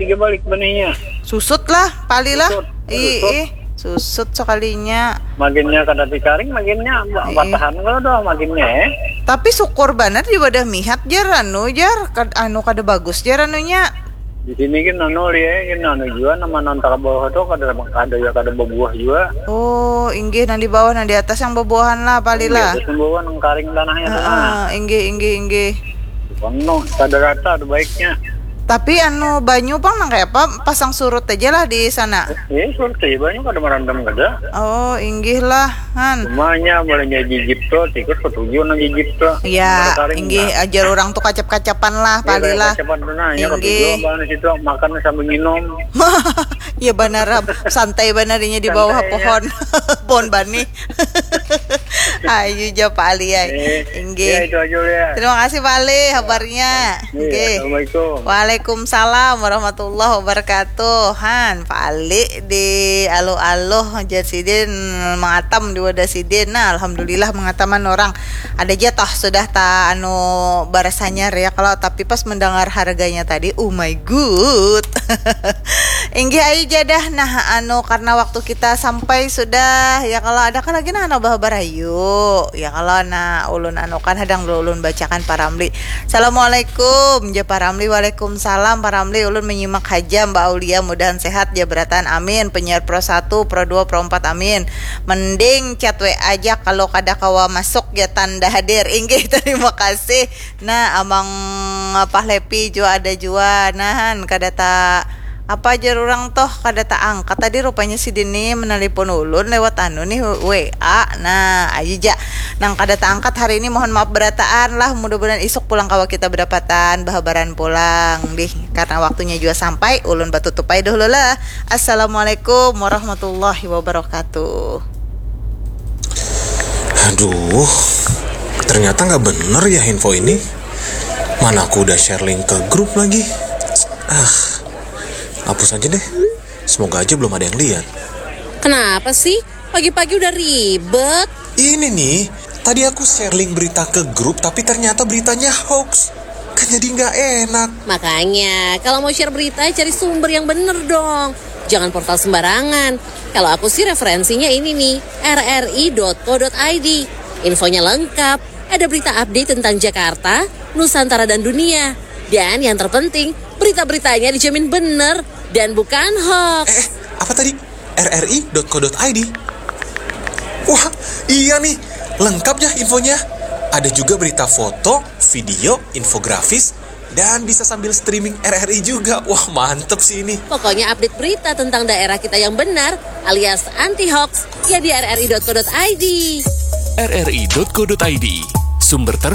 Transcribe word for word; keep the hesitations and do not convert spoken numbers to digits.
Tiga balik benihnya. Susut lah, pali lah. Susut, ih, susut. Ih, susut sekalinya. Maginnya kada tikaring, maginnya ba- Ih. Batahan kalau doh maginnya, eh. Tapi syukur banar di wadah mihat, jar, anu, jar, kad- anu kada bagus, jar, anunya. Di sini kan anu, lihat kan anu juga, nama nantara bawah tuh kada, kada ya, kada berbuah juga. Oh, inggih, nang di bawah, nang di atas yang berbuahan lah, pali lah. Iya, terus membawa nang karing tanahnya tuh, nah. Heeh, inggih, inggih, inggih. Penuh, kada rata ada baiknya. Tapi anu banyu pang nang kaya apa? Pasang surut aja lah di sana. Eh, surut aja banyu kada merandam kada. Oh, inggih lah, han. Cumanya mulainya jijip tuh, tikus ketujuh nang jijip tuh. Ya, inggih, ajar orang tuh kacap-kacapan lah, pali lah. Kacapan tuh nah, ya, inggih. Ketujuh apa situ makan sambil minum. Ya banar, santai banar inya di bawah pohon. Pohon bani. Ayu ja, Pak Ali, ai. Eh, inggih. Ya, itu aja ya. Terima kasih, Pak Ali, habarnya. Iya, inggih. Assalamualaikum. Waalaikumsalam warahmatullahi wabarakatuh. Han, Pak Ali di aluh-aluh, jar sidin, mangatam di wadah sidin. Nah, alhamdulillah mangataman orang. Ada ja toh sudah ta anu barasanya ya kalau, tapi pas mendengar harganya tadi, oh my god. Inggih, ayu ja dah. Nah, anu, karena waktu kita sampai sudah, ya kalau ada kan lagi nah, anu, bahabar ayu. Ya kalau nah, ulun anukan hadang dulu, ulun bacakan Pak Ramli. Assalamualaikum, ja Pak Ramli. Waalaikumsalam Pak Ramli. Ulun menyimak haja, Mbak Aulia, mudahan sehat ja berataan. Amin. Penyiar Pro satu, Pro dua, Pro empat, amin. Mending chat W A aja kalau kada kawa masuk, ya tanda hadir. Inggih, terima kasih. Nah, Amang Pahlepi jua ada jua. Nahan, kada ta apa jar urang toh, kada taangkat tadi rupanya sidin ni menelpon ulun lewat anu nih, W A. Nah, ayu ja. Nang kada taangkat hari ini mohon maaf berataan lah, mudah-mudahan isuk pulang kawa kita bedapatan, bahabaran pulang dih. Karena waktunya jua sampai, ulun batutup ai dahulu lah. Assalamualaikum warahmatullahi wabarakatuh. Aduh, ternyata nggak bener ya info ini. Mana aku udah share link ke grup lagi. Ah, hapus aja deh. Semoga aja belum ada yang lihat. Kenapa sih? Pagi-pagi udah ribet. Ini nih, tadi aku share link berita ke grup tapi ternyata beritanya hoax. Kan jadi nggak enak. Makanya, kalau mau share berita, cari sumber yang bener dong. Jangan portal sembarangan. Kalau aku sih referensinya ini nih, R R I dot co dot I D. Infonya lengkap, ada berita update tentang Jakarta, Nusantara dan dunia. Dan yang terpenting, berita-beritanya dijamin bener dan bukan hoax. Eh, apa tadi? R R I dot co dot I D. Wah, iya nih, lengkap ya infonya. Ada juga berita foto, video, infografis, dan bisa sambil streaming R R I juga. Wah, mantep sih ini. Pokoknya update berita tentang daerah kita yang benar alias anti hoax ya di R R I dot co dot I D. R R I dot co dot I D, sumber terpercaya.